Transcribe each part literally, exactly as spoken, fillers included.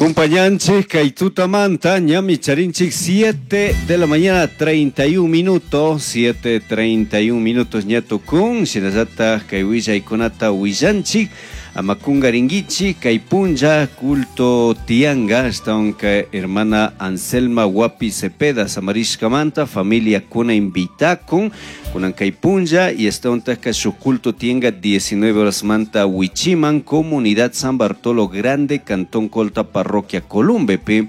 Compañanchik kay tutamanta ñami charinchik siete de la mañana treinta y un minutos, siete treinta y un minutos ña tukun, shinallataj kay willaykunata willanchik, amakungaringuichi kay punlla culto tianga, ashtawanka hermana Anselma Wapi Cepeda samarishkamanta familia kuna invitakun kunan kay punlla y ashtawantajka shuk culto tianga diecinueve horas manta Huichiman, comunidad San Bartolo Grande, Cantón Colta, Parroquia Columbepe.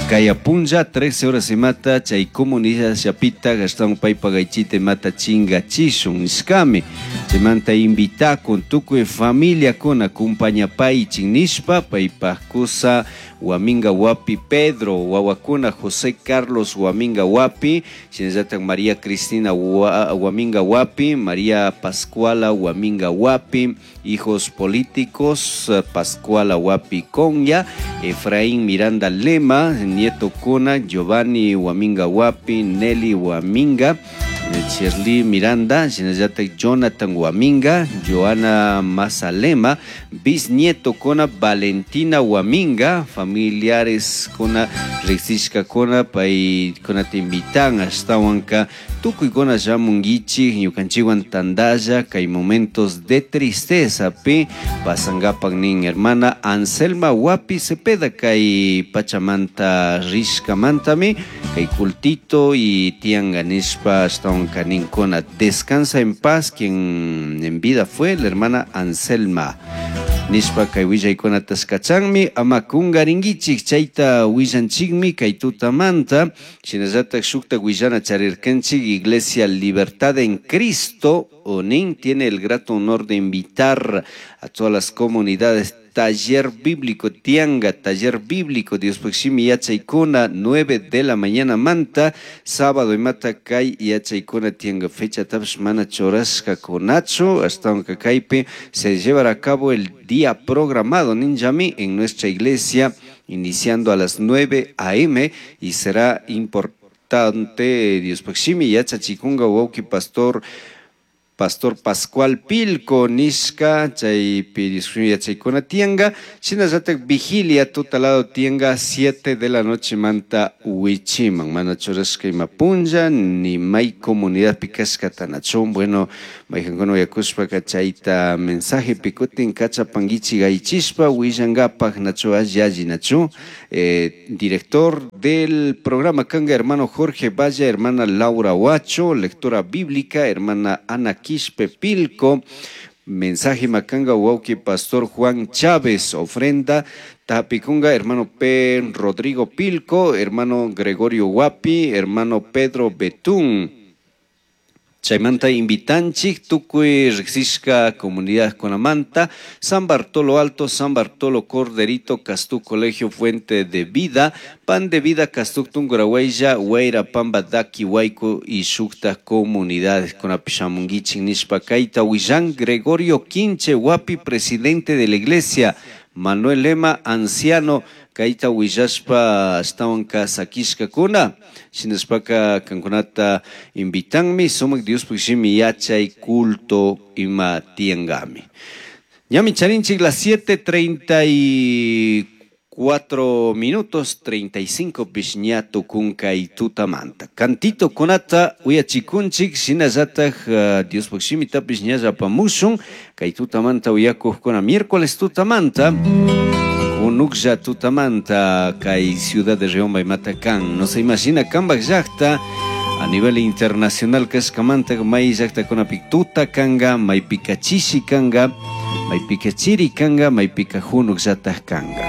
Kaya punlla trece horas y mata chay comunidad Chapita Gastón Paipa Gaichite mata chinga chishun iskami chaymanta invita con tukuy familia con acompaña pai chinishpa paipa kusa Huaminga Wapi Pedro Huahuacuna José Carlos Huaminga Wapi shinallatak María Cristina Huaminga Wapi María Pascuala Huaminga Wapi hijos políticos Pascuala Wapi Conya Efraín Miranda Lema nieto Cuna Giovanni Huaminga Wapi Nelly Huaminga Shirley Miranda, shinallatak Jonathan Huaminga, Joana Mazalema, bisnieto Cona Valentina Huaminga, familiares Cona Rexishka Cona, pay Cona te invitan hasta Huanca, tukuy Cona llamunguichi, ñukanchiwan tandalla, kay momentos de tristeza, pi pasangapak nin hermana Anselma Wapi Cepeda, kay Pachamanta Rishkamantami, kay cultito y tianga nishpa hasta Huanca nin Cona. Descansa en paz quien en vida fue la hermana Anselma. Nishpa kay willaykunata taskachanmi ama kungaringuichik chayta willanchikmi kay tutamanta shinallatak shukta willana charirkanchik Iglesia Libertad en Cristo Onin tiene el grato honor de invitar a todas las comunidades taller bíblico tianga, taller bíblico Dios Puximi yachaykuna nueve de la mañana manta sábado y mata kay yachaykuna tianga fecha taps mana chorasca conacho hasta un kaypi se llevará a cabo el día programado ninjami en nuestra iglesia iniciando a las nueve a eme y será importante Dios Puximi yachachikunga wauki pastor Pastor Pascual Pilco nishka chaypi yachaykuna tianga shinallatak vigilia tutalado tianga siete de la noche manta Huichiman mana churashka ima punlla ni may comunidad pikashka tanachun bueno maykankuna uyakushpaka chayta mensaje pikutin kachapanguichi gaychishpa willangapak nachu alli nachu eh, director del programa kanga hermano Jorge Valle, hermana Laura Huacho, lectora bíblica hermana Ana Quispe Pilco, mensaje macanga wauki pastor Juan Chávez, ofrenda Tapikunga, hermano P. Rodrigo Pilco, hermano Gregorio Huapi, hermano Pedro Betún. Chaymanta invitanchik tukuy riqsishka comunidad Conamanta, San Bartolo Alto, San Bartolo Corderito, Castú Colegio Fuente de Vida, Pan de Vida, Castú Tungurahuella, Huayra, Pamba, Daki, Huayco y Shukta comunidades con Apishamunguichin, Nishpa, Kaita, Huillán, Gregorio Quinche, Huapi, presidente de la iglesia, Manuel Lema, anciano, Kaita Huillashpa, ashtawanka sakishka kuna, shinashpaka kankunata invitanmi, sumak Dios pushimi yachay culto ima tiangami. Ñami charinchik las siete treinta y cuatro minutos, treinta y cinco pishñato kunkay tutamanta. Cantito kunata uyachikunchik, shinallataj uh, Dios pushimi tapishñalla pamushun, kay tutamanta uyakuj kuna miércoles tutamanta. Unuklla tutamanta kay ciudad de Riobamba y Matacán. No se imagina kambak llaqta a nivel internacional kashkamanta may llaqta kunapi tuta kanga, may pikachishi kanga, may pikachiri kanga, may pikajunuk llataj kanga.